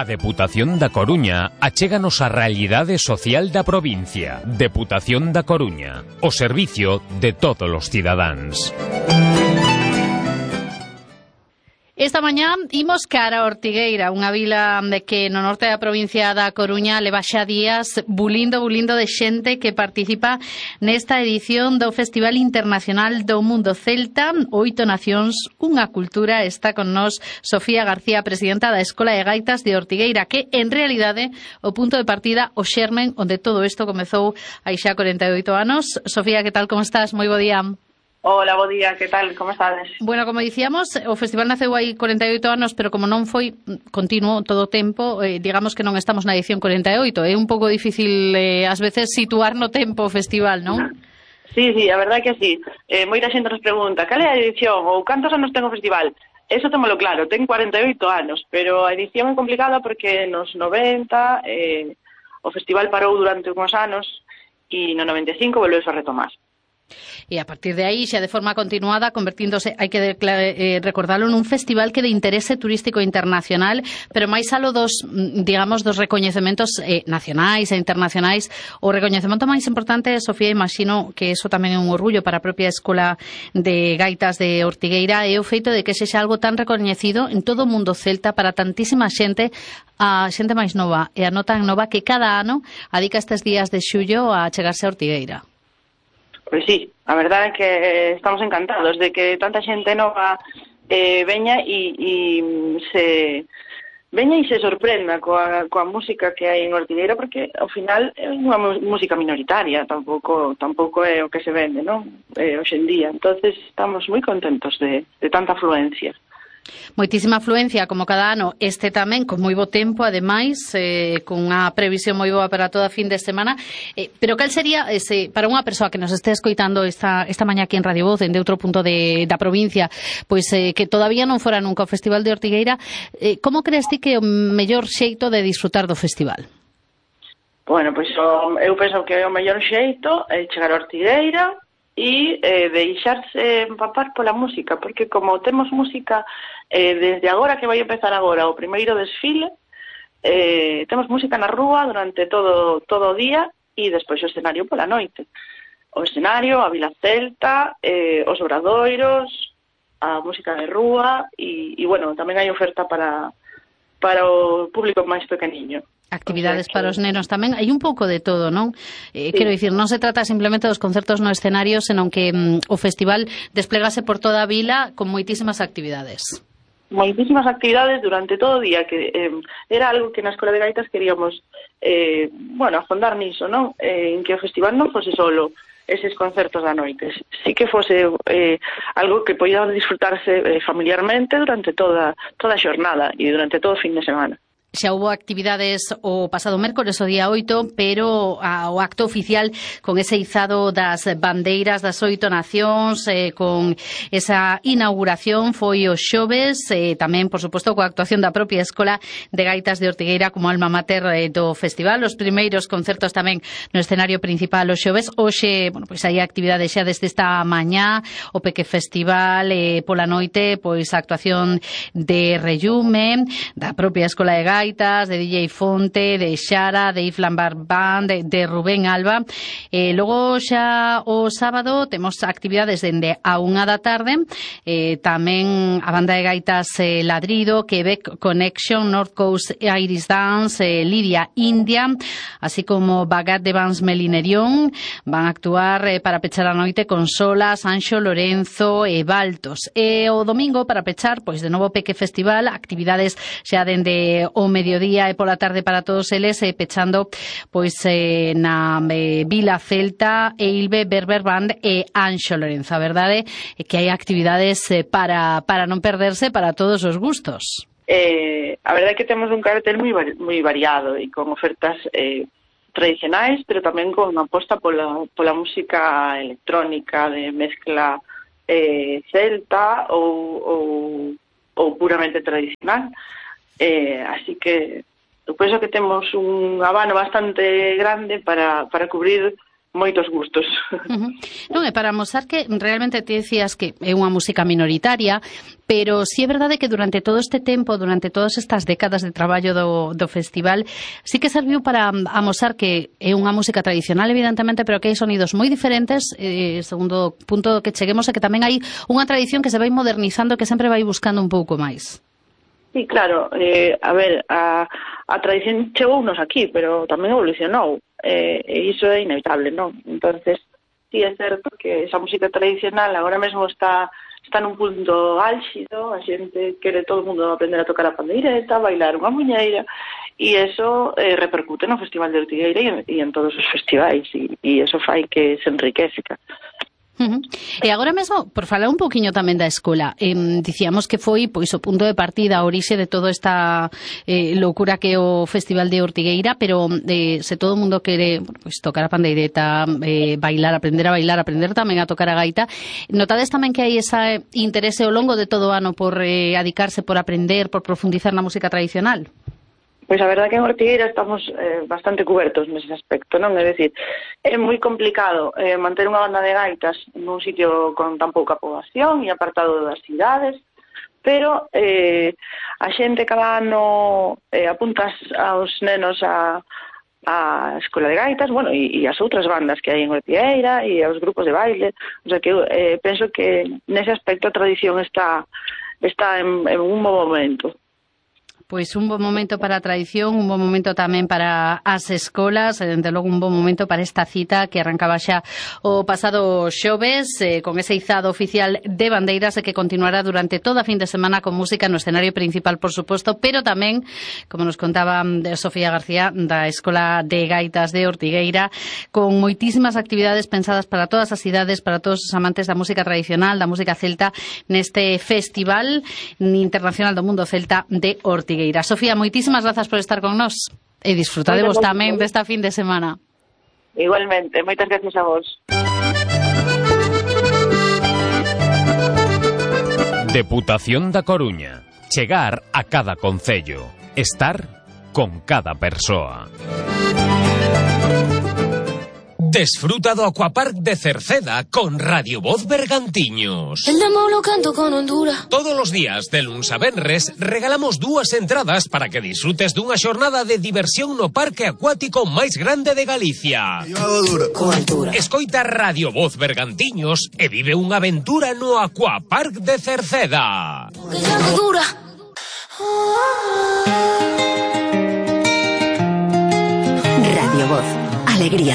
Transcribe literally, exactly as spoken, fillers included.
A Deputación da Coruña achéganos a realidade social da provincia. Deputación da Coruña, o servicio de todos os cidadáns. Esta mañá imos cara a Ortigueira, unha vila de que no norte da provincia da Coruña leva xa días bulindo, bulindo de xente que participa nesta edición do Festival Internacional do Mundo Celta, Oito Nacións, unha cultura. Está con nós Sofía García, presidenta da Escola de Gaitas de Ortigueira, que en realidade o punto de partida, o xermen onde todo isto comezou hai xa corenta e oito anos. Sofía, que tal, como estás? Moi bo día. Hola, bo día, que tal, como estades? Bueno, como dicíamos, o festival naceu hai corenta e oito anos, pero como non foi continuo todo o tempo, eh, digamos que non estamos na edición corenta e oito. É un pouco difícil, eh, ás veces, situar no tempo o festival, non? Sí, sí, a verdade é que sí. Eh, moita xente nos pregunta, cal é a edición ou cantos anos ten o festival? Eso témolo claro, ten corenta e oito anos, pero a edición é complicada porque nos noventa eh, o festival parou durante uns anos e no noventa e cinco volveu a retomar. E a partir de aí, xa de forma continuada, convertíndose, hai que eh, recordarlo, nun festival que de interese turístico internacional, pero máis alo dos, digamos, dos recoñecementos eh, nacionais e internacionais. O recoñecemento máis importante, Sofía, imagino que eso tamén é un orgullo para a propia Escola de Gaitas de Ortigueira, é o feito de que sexa algo tan recoñecido en todo o mundo celta para tantísima xente, a xente máis nova e a non tan nova, que cada ano adica estes días de xullo a chegarse a Ortigueira. Pois sí, a verdade é que estamos encantados de que tanta xente nova eh, veña e, e se veña e se sorprenda coa, coa música que hai en Ortigueira, porque ao final é unha música minoritaria, tampouco tampouco é o que se vende, non? Eh, hoxe en día. Entonces estamos moi contentos de, de tanta afluencia. Moitísima afluencia, como cada ano, este tamén con moi bo tempo, ademais, eh, con unha previsión moi boa para toda a fin de semana. Eh, pero cal sería, ese, para unha persoa que nos este escoitando esta, esta mañá aquí en Radio Voz, de outro punto de, da provincia, pois eh, que todavía non fora nunca o Festival de Ortigueira, eh, como crees ti que é o mellor xeito de disfrutar do festival? Bueno, pois o, eu penso que o mellor xeito é chegar a Ortigueira e eh, deixarse empapar pola música, porque como temos música eh, desde agora, que vai empezar agora o primeiro desfile, eh, temos música na rúa durante todo todo o día e despois o escenario pola noite. O escenario, a Vila Celta, eh, os obradoiros, a música de rúa e, e bueno, tamén hai oferta para, para o público máis pequeniño. Actividades para os nenos tamén, hai un pouco de todo, non? Eh, sí. Quero dicir, non se trata simplemente dos concertos no escenario, senón que mm, o festival desplegase por toda a vila con moitísimas actividades. Moitísimas actividades durante todo o día, que eh, era algo que na Escola de Gaitas queríamos, eh, bueno, afondar niso, non? Eh, en que o festival non fose solo eses concertos da noite, sí que fose eh, algo que podía disfrutarse eh, familiarmente durante toda, toda a xornada e durante todo o fin de semana. Xa houve actividades o pasado mércores, o día oito, pero a, o acto oficial con ese izado das bandeiras das oito nacións, eh, con esa inauguración foi o xoves, eh, tamén, por suposto, coa actuación da propia Escola de Gaitas de Ortigueira como alma mater eh, do festival. Os primeiros concertos tamén no escenario principal o xoves. Hoxe, bueno, pois hai actividades xa desde esta mañá, o Peque Festival, eh, pola noite, pois a actuación de Reyume, da propia Escola de Gaitas, Gaitas, de D J Fonte, de Xara, de Iflan Barbán, de, de Rubén Alba. Eh, logo xa o sábado temos actividades dende a unha da tarde, eh, tamén a banda de gaitas eh, Ladrido, Quebec Connection, North Coast Iris Dance, eh, Lidia India, así como Bagat de Vans Melinerión, van a actuar eh, para pechar a noite con Solas, Anxo, Lorenzo e Baltos. E o domingo, para pechar, pois de novo Peque Festival, actividades xa dende o mediodía e pola tarde para todos eles, eh, pechando pois eh, na eh, Vila Celta, Eilbe, Berber Band e Anxo Lorenzo. A verdade é que hai actividades eh, para, para non perderse para todos os gustos. Eh, a verdade é que temos un cartel moi, moi variado e con ofertas eh, tradicionais, pero tamén con unha aposta pola, pola música electrónica de mezcla eh, celta ou, ou, ou puramente tradicional. Eh, así que eu penso que temos un abano bastante grande para, para cubrir moitos gustos. Uh-huh. Non, é para mostrar que realmente te decías que é unha música minoritaria, pero si sí é verdade que durante todo este tempo, durante todas estas décadas de traballo do, do festival, sí que serviu para amosar que é unha música tradicional, evidentemente, pero que hai sonidos moi diferentes, eh, segundo punto que cheguemos, é que tamén hai unha tradición que se vai modernizando, que sempre vai buscando un pouco máis. Sí, claro, eh, a ver, a, a tradición chegounos aquí, pero tamén evolucionou, eh, e iso é inevitable, non? Entonces, sí é certo que esa música tradicional agora mesmo está está nun punto álxido, a xente quere todo o mundo aprender a tocar a pandeireta, bailar unha muñeira, e eso eh, repercute no Festival de Ortigueira e en, e en todos os festivais, e, e eso fai que se enriquezca. Uh-huh. E agora mesmo, por falar un poquinho tamén da escola, eh, dicíamos que foi pois o punto de partida, a orixe de toda esta eh, loucura que é o Festival de Ortigueira, pero eh, se todo o mundo quere pois, tocar a pandeireta, eh, bailar, aprender a bailar, aprender tamén a tocar a gaita, notades tamén que hai ese interese ao longo de todo o ano por eh, adicarse, por aprender, por profundizar na música tradicional? Pois a verdade que en Ortigueira estamos eh, bastante cubertos nese aspecto, non? É dicir, é moi complicado eh, manter unha banda de gaitas nun sitio con tan pouca poboación e apartado das cidades, pero eh, a xente cada ano eh, apunta aos nenos a, a escola de gaitas, bueno, e, e as outras bandas que hai en Ortigueira e aos grupos de baile, o sea que eh, penso que nese aspecto a tradición está, está en, en un bo momento. Pois un bon momento para a tradición, un bon momento tamén para as escolas, e, dende logo, un bon momento para esta cita que arrancaba xa o pasado xoves, eh, con ese izado oficial de bandeiras e que continuará durante toda a fin de semana con música no escenario principal, por suposto, pero tamén, como nos contaba Sofía García, da Escola de Gaitas de Ortigueira, con moitísimas actividades pensadas para todas as cidades, para todos os amantes da música tradicional, da música celta, neste Festival Internacional do Mundo Celta de Ortigueira. Sofía, moitísimas grazas por estar con nós e disfrutadevos tamén desta fin de semana. Igualmente, moitas gracias a vos. Deputación da Coruña. Chegar a cada concello. Estar con cada persoa. Desfruta do Aquapark de Cerceda con Radio Voz Bergantiños. El demo lo canto con Honduras. Todos os días, de luns a venres, regalamos dúas entradas para que disfrutes dunha xornada de diversión no parque acuático máis grande de Galicia. Con altura. Escoita Radio Voz Bergantiños e vive unha aventura no Aquapark de Cerceda. Que ya no dura. Radio Voz. Alegría.